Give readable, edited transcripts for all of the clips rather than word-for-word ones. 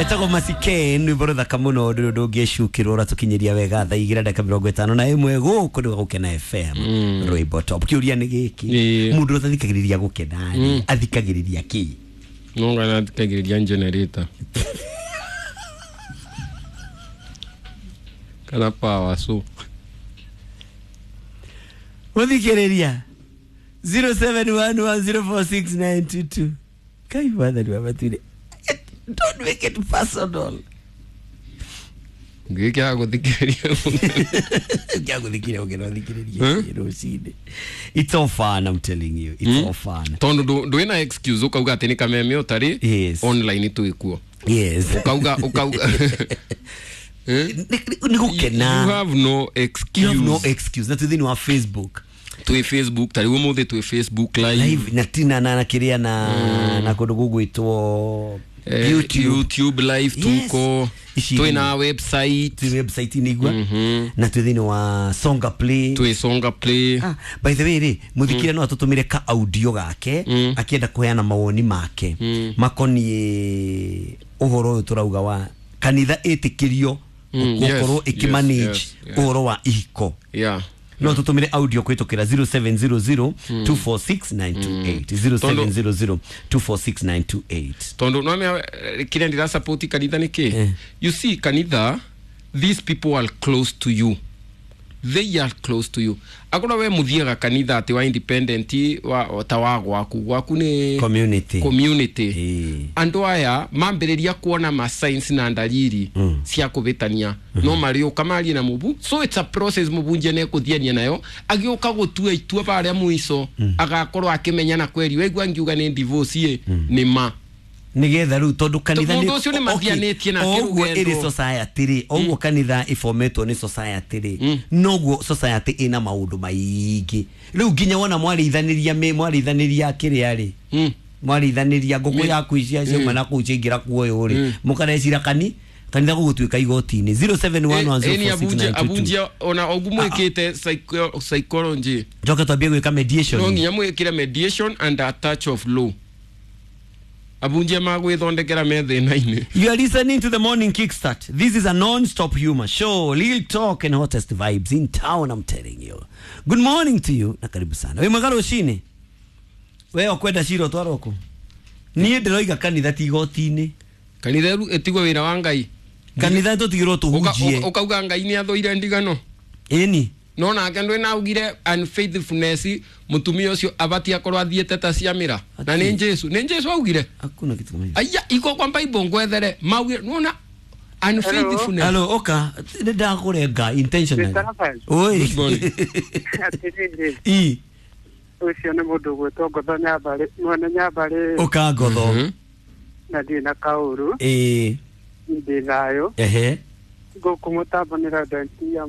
Etagwo Masiken rwĩmbo rũthaka mũno ndũrĩ ũndũ ũngĩcukĩrwo ũratũkinyĩria wega thaa igĩrĩ ndagĩka 51 gũkũ nĩ Gũkena FM rwĩmbo top. Kĩũria nĩ gĩkĩ, mũndũ ũtathikagĩrĩria Gũkena rĩ athikagĩrĩria kĩ? No ngana athikagĩrĩria generator kana power so Mũthikĩrĩria 0711046922 kai wathani wa matuire. Don't make it personal. Gĩkĩ gũthikĩrĩria Kĩa gũthikĩrĩria Gũkena ũthikĩrĩrie rũcinĩ. It's all fun, I'm telling you. It's all fun. Tondu ndwĩna excuse ũkauga atĩ nĩ kameme ũtarĩ online twĩkuo. Ũkauga ũkauga Nĩ Gũkena. You have no excuse. You have no excuse. Na twĩ thĩinĩ wa Facebook. Twĩ Facebook ta rĩu ũmũthĩ twĩ Facebook live. Live na tina na kĩrĩa na kũndũ gũgwĩtwo YouTube. YouTube live tuko. Ici twĩna website. Twĩ website nĩigua na twĩ thĩinĩ wa Songa Play. Twĩ Songa Play. Ah, by the way rĩ mũthikĩria no atũtũmĩre ka audio gake akĩenda kũheana mawoni make makoniĩ ũhoro ũyũ tũrauga wa kanitha ĩtĩkĩrio gũkorwo ĩkĩmanage ũhoro wa ihiko. No tũtũmĩre audio kũhĩtũkĩra 0700 246 928 0700 246 928. Tondu no mea kĩrĩa ndĩra support kanitha nĩ kĩ? You see kanitha, these people are close to you. They are close to you. Akorwo we mũthiaga kanitha atĩ wa independent wa ta wa gwaku gwaku nĩ community. Community. Andũ aya mambĩrĩria kuona ma signs na ndariri cia kũhĩtania no marĩũka marie na mũbu, so it's a process mũbunjia nĩekũthiania nayo agĩũka gũtua itua barĩa mũico agakorwo akĩmenya na kweri waigua ngiuga nĩ divorce ĩ nĩ ma nigetha rĩu tondu kanitha Mũndũ ũcio nĩ mathianĩtie nake oguo rũgendo. ĩrĩ society rĩ, oguo kanitha ĩbometwo nĩ society rĩ, noguo society ĩna maũndũ maingĩ rĩu nginya wona mwarĩithanĩria mwarĩithanĩria kĩrĩa rĩ, mwarĩithanĩria ngũkũ yaku icia ciauma na kũu ciaingĩra kuoyũ rĩ, mũkarecira kanitha gũgũtuĩka igoti-inĩ 0711046922. Abunjia ona ogu mwĩkĩte psychology njoke twambie gwĩka mediation. No nginya mwĩkĩre mediation and a touch of law. Abunjia magwĩthondekera me thĩna-inĩ. You are listening to the Morning Kickstart. This is a non-stop humor show, real talk and hottest vibes in town, I'm telling you. Good morning to you na karibu sana. Wĩ mwega rũcinĩ? We ũkwenda cira ũtwarwo kũ? Niĩ ndĩroiga kanitha ti igoti-inĩ. Kanitha rĩu ĩtigwo wĩra wa Ngai. Kanitha tũtigĩrwo tũhunjie. Ũkauga Ngai nĩ athũire ndigano. Ĩni. No nake ndwĩ na augire unfaithfulness mũtumia ũcio abatie akorwo athiĩte ta ciamĩra. Na nĩ Jesu, nĩ Jesu augire. Hakuna kitu kama hicho. Aya iko kwa Bible ngwethere maugire nona unfaithfulness. Hello, oka nĩ ndakũrenga intentionally. Oi. Good morning. Atĩrĩrĩ. I. Ũcio nĩ mũndũ ũgwĩtwo Ngotho Nyambarĩ, mwene Nyambarĩ. Ũka Ngotho. Na ndirĩ na kaũru. Ĩĩ. Ndĩ thayũ. Ehe. Gũkũ mũtambo nĩ Laurent ya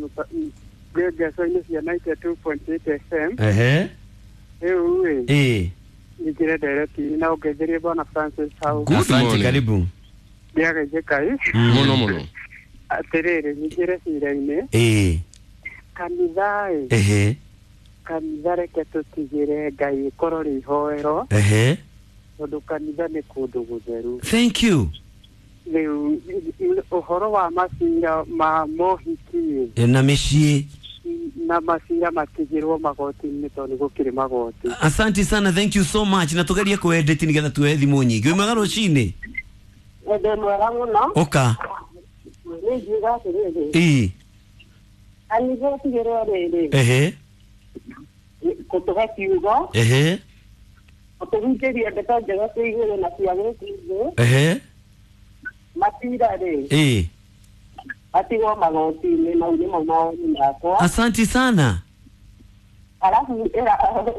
ngeco-inĩ cia 92.8 FM. Ehe. Rĩu ĩ. Ĩĩ. Ningĩre ndereti na ũngeithĩrie Bwana Francis hau. Good Asante, morning. karibu. Ndiageithie Ngai. Mũno mũno. Atĩrĩrĩ, nyingĩre cira-inĩ. Ĩĩ. Kanitha ĩ. Ehe. Kanitha reke tũtigĩre Ngai ĩkorwo rĩ ihoero. Ehe. Tondũ kanitha nĩ kũndũ gũtheru. Thank you. Rĩu ũhoro wa macira ma mohiki Na mĩciĩ. Na macira matigĩrwo magoti-inĩ tondũ nĩ gũkĩrĩ magoti. Asante sana, thank you so much. Na tugerie kuedit nigetha tuoe thimũ nyingĩ. Wĩ mwega rũcinĩ? Ndĩ mwega mũno. Ũka. Nĩ ngiuga atĩrĩrĩ. Ĩĩ. Kanitha ĩtigĩrwo rĩrĩ. Ehe. Gũtũhe kiugo. Ehe. Gũtũhunjĩria ndeto njega cia igũrũ na cia gũkũ thĩ. Ehe. Matira rĩ. Ĩĩ. Matigwo magoti-inĩ, mau nĩmo mawoni makwa. Asante sana. Arabu ĩra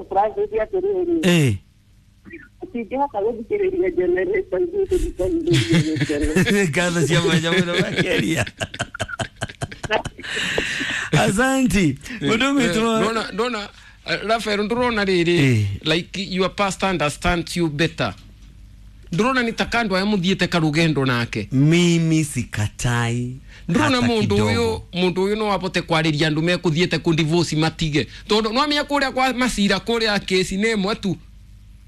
Francis atĩrĩrĩ. Ĩĩ. Ũtingĩhota gũthikĩrĩria generator ithuĩ tũthikagĩrĩria gĩkeno. Ngatho cia mwanya mũno makĩria. Asante. Mũndũ ũgwĩtwo Ndona ndona Rafael ndũrona rĩrĩ like your pastor understands you better. Ndũrona nĩ ta kandũ aya mũthiĩte karũgendo nake. Mimi sikatai. Ndũrona mũndũ ũyũ mũndũ ũyũ no abote kwarĩria andũ mekũthiĩte kũ divorce matige. Tondũ no amenya kũrĩa kwa macira kũrĩa kesi nĩ ĩmwe tu.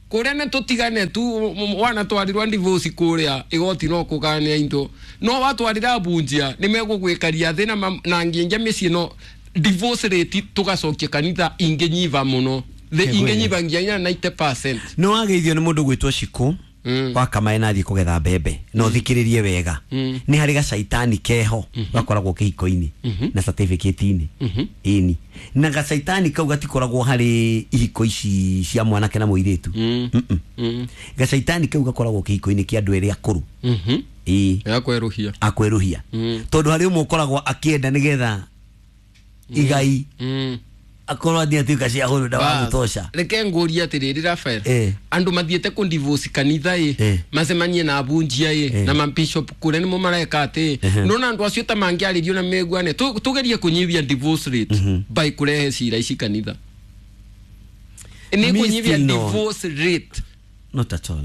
Kuria ne tutigane tu wana twarirwa divorce kuria igoti no kugania indo no watwarira bunjia ni megugwikaria thi na nginja mĩciĩ no divorce rate tugacokia kanitha inginyiva muno the inginyiva nginya 90%. No wageithio ni mundu gwitwo Shiku wa kamae na thiĩ kũgetha mbembe no thikĩrĩrie wega nĩ harĩ gacaitani keho gakoragwo kĩhiko-inĩ na certificate-inĩ ĩni na gacaitani kau gatikoragwo harĩ ihiko ici cia mwanake na mũirĩtu. Gacaitani kau gakoragwo kĩhiko-inĩ kĩa andũ erĩ akũrũ ĩĩ akwerũhia tondũ harĩ ũmwe ũkoragwo akĩenda nĩgetha igai akorwo athia tuika cia huru da wa gutosha. Reke nguria atiriri Rafael, andu mathiete ku divorce kanitha i macemanie na abunjia i na ma bishop kuria nimo mareka ati nona andu acio ta mangiaririo na meguane tugerie kunyivia divorce rate by kurehe cira ici kanitha ni kunyivia divorce rate. Not at all.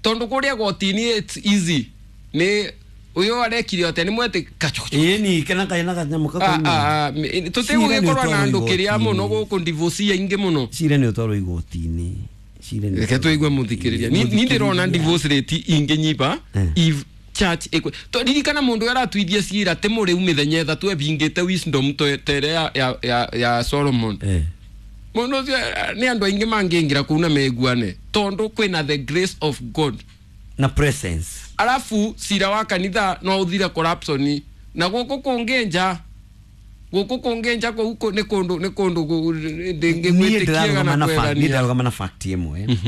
Tondu kuria gotini it's easy ni uyo arekire atia ni mwete kachocho ĩni kana kana kanyamu ka tutigũgĩkorwo na andũ kĩrĩa mũno gũkũ divorce ingi mũno cira nĩ ũtwarwo igoti-inĩ cira nĩ reke tũigue mũthikĩrĩria ni ndĩrona divorce rate ingĩnyiba if church ĩkwe to ririkana mũndũ aratuithia cira ti mũrĩu mĩthenya ĩthatũ ebingĩte wisdom tere ya Solomon. Mũndũ ũcio nĩ andũ aingĩ mangĩingĩra kũu na meguane tondũ kwĩna the grace of God na presence. Alafu cira wa kanitha no uthire corruption na guku kungenja guku ni kundu ndingigwitikia na kwerania. Ni ndarugama na fact imwe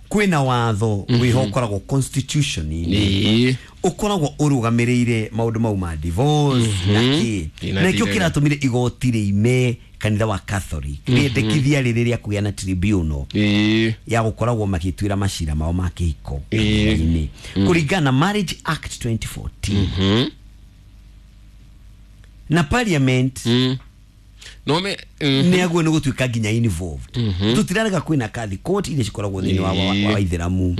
kwina watho wiho ukoragwo constitution ini ukoragwo urugamiriire maundu mau ma divorce na ki na kio kiratumire igoti riime kanitha wa Catholic riendekithia riri ria kugia na tribunal ya gukoragwo magituira macira mao ma kihiko ini kuringana na Marriage Act 2014 na parliament no me ni aguo ni gutuika nginya involved. Tutirarega kwina kathi court iria cikoragwo thiini wa ithiramu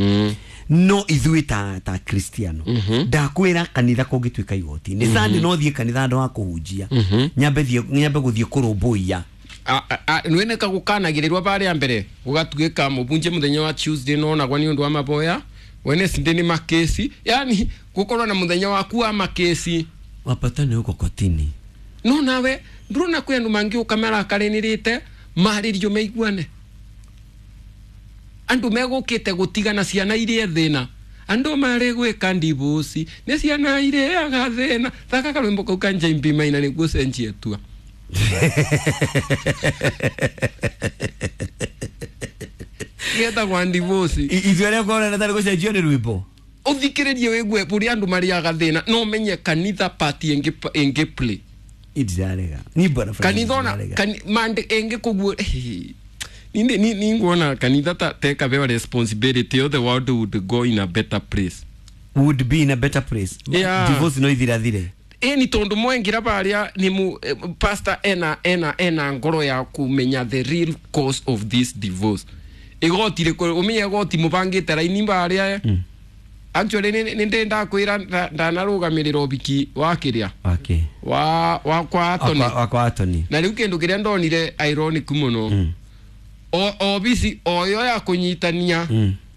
no ithuĩ ta Kristiano ndakwira kanitha kũngĩtuĩka igoti nĩ Sunday no thiĩ kanitha andũ a kũhunjia nyambe gũthiĩ kũrũmbũiya nwene kagukanagĩrĩrwo barĩa mbere gũgatuĩka mũbunje mũthenya wa Tuesday no nagwa nĩ ũndũ wa maboya Wednesday nĩ makesi yani gũkorwo na mũthenya waku wa makesi wapatane huko kotini no nawe ndurona kwĩ andũ mangĩũka marakaranĩrĩte marĩrio meiguane andu megũkĩte gũtigana ciana iria thĩna andu marĩ gwĩka ndibuci nĩ ciana ireaga thĩna thaka karwĩmbo kau ka Njimbi Maina nĩguo cenjie tua getagwa ndibuci ithuĩ arĩa ngorana tarĩ gũcenjio nĩ rwĩmbo ũthikĩrĩrie wĩgue ũrĩa andũ marĩaga thĩna no menye kanitha party ĩngĩ play idirarega ni bwana kanitha ona mande ĩngĩ kũguo ni nguona kanitha ta take away responsibility of the world would go in a better place would be in a better place. Yeah. Divorce no ithirathire ni tondu mwengira baria ni mu pastor ena ngoro ya kumenya the real cause of this divorce igoti riko umenye igoti mubangite raini baria actually ni ndenda kwira ndanarugamirira obiki wa kiria okay wa kwa Anthony wa kwa Anthony na riu kindu kiria ndonire ironic muno o obisi oyo ya kunyitania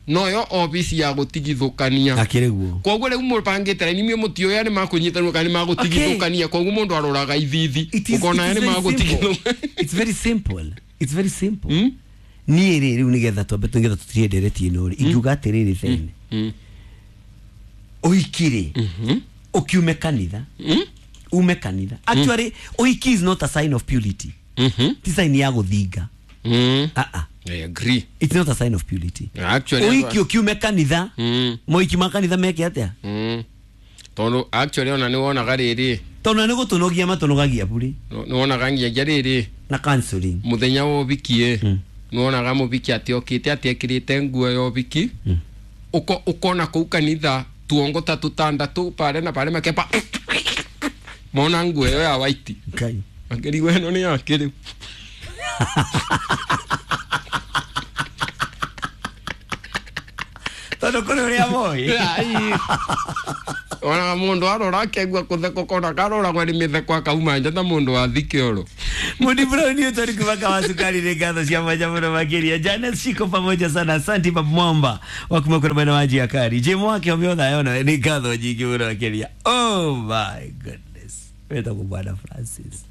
noyo obisi ya gutigithukania akiriguo koguo riu mubangite ni mutio ya ni makunyitanwo kana ni magutigithukania koguo mundu aroraga ithithi ukona ni magutigithukania. It's very simple, it's very simple. Ni ri riu nigetha twambe nigetha tutirie ndereti ino ri ingiuga atiriri thene uhikiri ukiume kanitha ume kanitha actually uhiki is not a sign of purity. Ti sign ya guthinga. I agree. It's not a sign of purity. Actually uhiki ukiume kanitha moiki ma kanitha meke atia tondu actually ona ni wonaga riri tondu ni gutunogia matunogagia buri ni wonaga nginya riri na counseling muthenya wa ũhiki ni wonaga mũhiki ati okite ati ekirite nguo ya ũhiki ukona kuu kanitha tuongo ta tutandatu pare na pare makepa mona nguo ĩyo ya white ngai makĩrigwo ĩno nĩ yake rĩu tondu kũrĩ ũrĩa moĩ. Ona mundu arora akegua kutheka kona karoragwo ni mitheko akauma nja ta mundu wa thikioro. Mudi Brown Newton kumaka wa sukari ni ngatho cia mwanya muno makiria. Janet Shiko pamoja sana, asanti Babu Mwamba wa kuma kuna mwena wa njia kari. Jim wake omiotha yona ni ngatho nyingi muno makiria. Oh my goodness. Wetagwo Bwana Francis.